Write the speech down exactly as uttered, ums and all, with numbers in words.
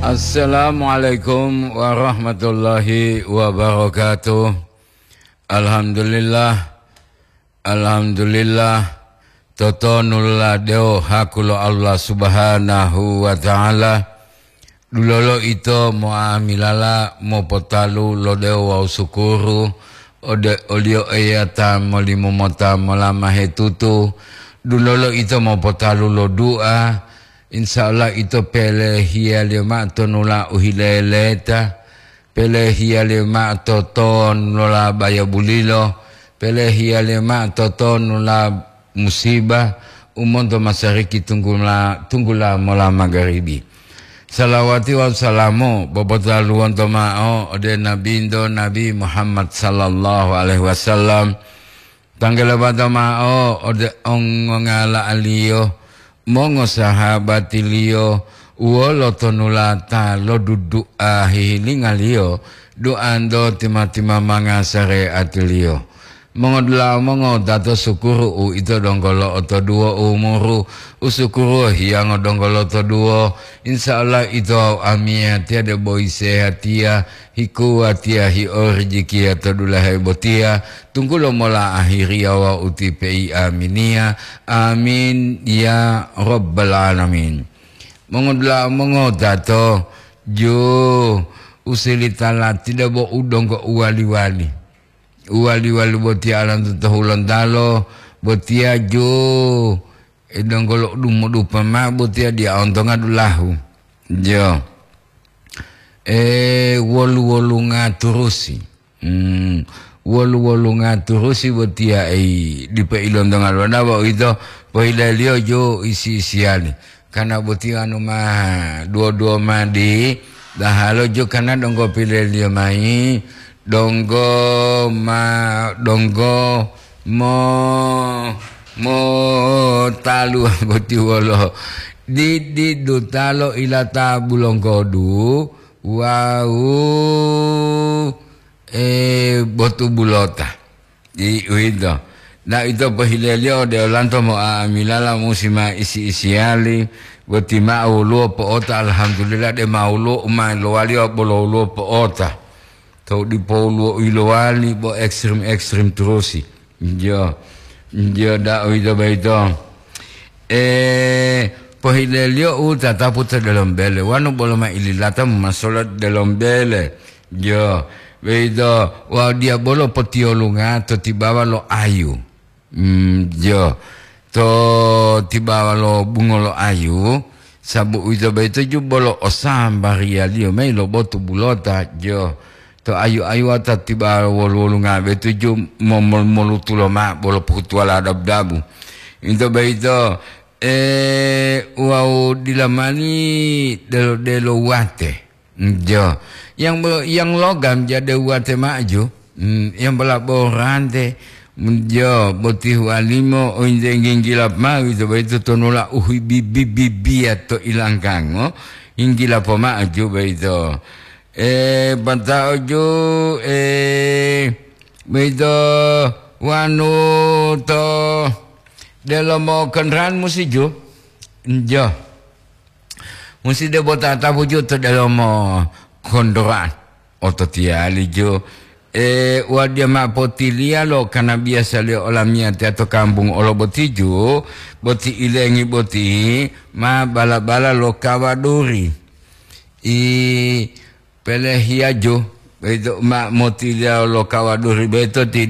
Assalamualaikum warahmatullahi wabarakatuh. Alhamdulillah, alhamdulillah. Totonulade haku lo Allah Subhanahu wa Ta'ala. Dulolo ito mo'amilala mopotalu lo dewo wawu sukuru ode oliyo Eya ta molimumota molama hetutu. Dulolo ito mopotalu lo du'a. Insya Allah ito pelehiyaliyo ma'o tonula u hileleta, pelehiyaliyo ma'o totonula bayabulilo, pelehiyaliyo ma'o totonula musibah u monto masariki tunggula, tunggula mola magaribi. Salawati wawu salamu popotaluwonto ma'o ode Nabinto Nabi Muhammad sallallahu alaihi wasallam. Tanggalabata ma'o ode ongongala'aliyo, mongosahabatiliyo, wolo tonulata lo dudu'a hihilingaliyo, du'anto tima-timamanga sare'atiliyo. Mongodula'a mongotato sukuru uwito donggo lo'otoduwo umuru, usukuru hiyango donggo lotoduwo. Insya Allah ito wawu amiyatiya debo yisehatiya, hikuwatiya hi'orijikiya to dulahe botiya, tunggulo mola ahiriya wawu ti pei aminiya. Amin ya rabbal alamin. Mongodula'a mongotato, ju usilita lati debo u donggo uwali-wali. Uwali-wali botiya alanto to Hulontalo, botiya ju, e, donggolo dumodupa ma'o botiya diya ontonga dulahu. Jo. E, wolu-wolunga turusi. Hmm, wolu-wolunga turusi botiya, e, dipo ilontonga lona bo ito pohileliyo ju isi-isiyali. Kana boti anu ma duwo-duwo madi, dahalo jo kana donggo pileliyo mayi, donggo ma, donggo mo, mo talu boti wolo. Didi dutalo ilata bulonggodu, wawu, e, botu bulota. Di uwito. Na ito pohileliyo ode olanto mo'amilala musi ma isi-isiyali, boti ma'o woluwo po'ota, alhamdulillah, de ma woluwo u ma lowaliyo bolo woluwo po'ota. Tou dipo woluwo u yilowali bo ekstrim-ekstrim turusi. Njo, njo da uwito boyito. E, pohileliyo u tatapu to delomo bele, wanu bolo ma ililata momasola delomo bele. Jo, boyito wawu diya bolo potiyolunga to tibawa lo ayu. Mm, jo, to tibawa lo bungo lo ayu, sabu uwito boyito ju bolo o sambariyaliyo mayi lo botu bulota, jo. To ayu-ayuwa to tibawa wolu-wolunga boyito ju mo-, mo-, molutu lomao bolo pohutuwala dabu-dabu. Uwito boyito, e, wawu dila mani delo-delo wate. Jo. Yang, yang logam jade wate maju. Hmm, yang bolaborante. Hmm, jo, boti huwalimo, ointe nginggila mao, ito boyito tonula uhibibibiya to ilangkango, nginggila pomaju boyito. E, pata'o ju, e, boyito wanu to delomo kendaraan musi ju. Jo. Musi debo tatapu ju to delomo kondoran. Ototiyali ju, e, wadiya ma'o potiliya lo kana biyasaliyo olamiyatiya to kampung olo boti ju, boti ilengi boti ma bala-bala lo kawaduri. I pelehiya ju, boyito ma motiliya lo kawaduri boyito ti